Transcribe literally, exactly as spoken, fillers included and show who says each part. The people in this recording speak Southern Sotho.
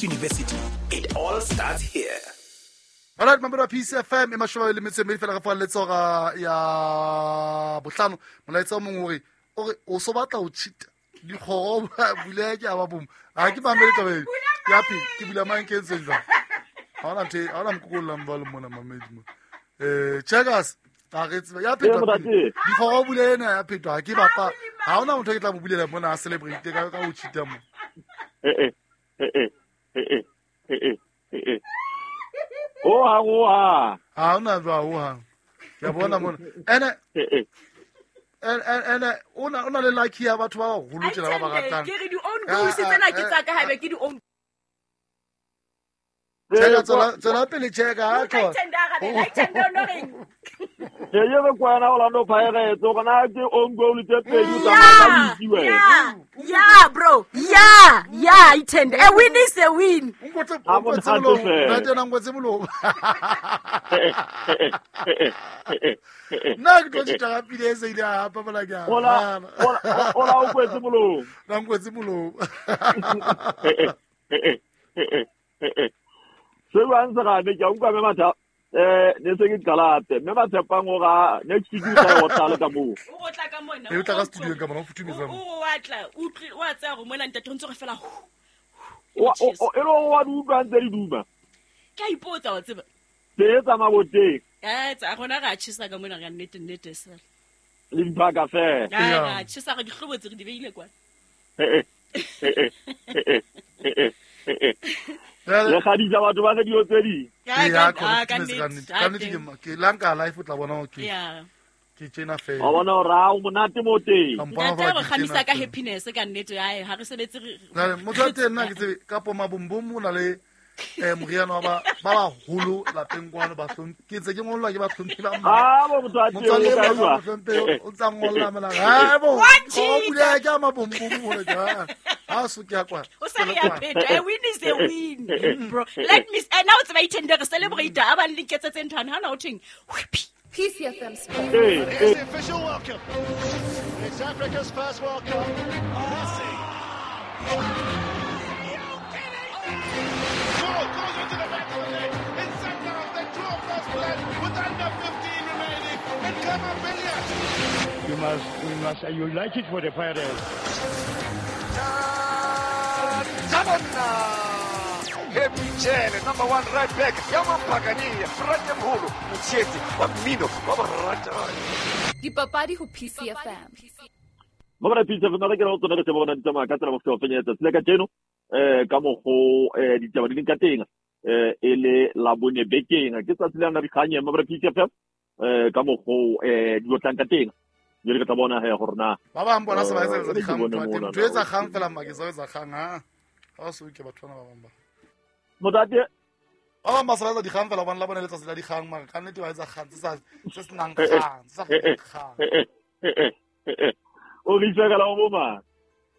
Speaker 1: University. It all starts here.
Speaker 2: All right, mamelo P C F M e mashome le metso e mmedi fela ga fa letsoga ya bohlano molaetsa o mongwe hore o re o so batla o cheat dikgoro bule ke a ba bom ha ke mamele taba e ya pele ke bula mang ke ntse jwang ha ona nthe ha ona mkokolla mbalo mona mamedi mo eh checkers a re tseba ya phetwa dikgoro bule ena ya phetwa ha ke bapa ha ona motho ke tla mo bulela mona a celebrate ka ka o cheat mo
Speaker 3: eh eh eh eh eh eh eh o ha o ha
Speaker 2: ha ona jwa o ha ya bona mona ene ene ene ona ona le lucky ya batho ba baholo tsela ba ba ratang
Speaker 4: ke re di own goals tsena ke tsaka haebe ke di own
Speaker 2: tsela tsela tsela pele cheka ha tlo
Speaker 3: ke ye re kwana Orlando Pirates o kana ke own goal tse pedi tsa ka itse
Speaker 4: wena yeah bro yeah yeah itend a win is a win
Speaker 2: ngotse ngotse molomo na tena ngotse molomo nna ke tlo tshita ka pile e se ile a hapa bola ke
Speaker 3: ola ola o kwetse molomo
Speaker 2: na ngotse molomo
Speaker 3: se ba ntse ga ne ke utlwa me matha eh ne se ke qala mme ba tshepang hore next week o tla o tla ka moo
Speaker 4: o tla ka mona
Speaker 2: e o tla ka studio ka mona o futhumetse
Speaker 4: mo o wa tla o wa tsaya go mona ntate o ntse go fela
Speaker 3: o o e lo wa di utlwa ntse di duma
Speaker 4: ke a ipotsa wa tseba
Speaker 3: tse tsa maboteng
Speaker 4: eh tsa rona ra tshisa ka mona ga nnete nnete sela
Speaker 3: le dipaka fela
Speaker 4: ra tshisa re dihlobotse re di beile kwa
Speaker 3: eh eh eh eh eh le gadisa batho ba re dio tse di
Speaker 2: ya ka nnete ka nnete ke lanka life o tla bona ke ke tjena fela
Speaker 3: wa bona hore o monate mo teng
Speaker 4: ntate re kgamisa ka happiness ka nnete hae ha re sebetse
Speaker 2: re motho wa teng nna ke tsebe ka poma bombom o na le eh moriana wa ba ba baholo lapeng kwano ba hlomphe ke ntse ke ngollwa ke ba hlomphe ba
Speaker 3: ah bo motho wa teng
Speaker 2: o hlomphe o tsa ngolla mela ha bo o bula ke ma bombom hore ka ha so ke ya kwa
Speaker 4: o sa re ya pheta a win is a win bro let me and now it's my tender celebrate a ba linketse tse nthana ha na o theng
Speaker 5: P C F M Sports.
Speaker 6: Here's the official welcome. It's Africa's first World Cup. Messi. Goal goes into the back of the net. It's Sundowns. They draw first blood with under fifteen remaining. And Khama Billiat.
Speaker 7: You must, we must, you like it for the Pirates.
Speaker 6: Happy Jele, number one right back. Yamampagani, Franya Mholo, Mtshetsi, wa mmino, wa borata.
Speaker 5: Dipapadi ho P C F M.
Speaker 3: Mabra P C F M re ke re tsona re bona ditsamaya ka tsela mo se fenyetsa tsile ka tseno eh ka mogo eh ditaba di ka teng eh e le la bone bekeng ke tsatsi le na dikganye mabra P C F M eh ka mogo eh di lotlang ka teng jere ke tla bona he gore na
Speaker 2: ba bang bona se ba etsa dikgang ntho etsa kgang fela mma ke sa etsa kgang ha ha so ke batho bana ba bang ba
Speaker 3: motate
Speaker 2: ba bang ba sa etsa dikgang fela bona la bona letsatsi la dikgang mara ka nnete ba etsa kgang tse sa tse senang kgang tse sa kgang
Speaker 3: o re itse ka la mo ma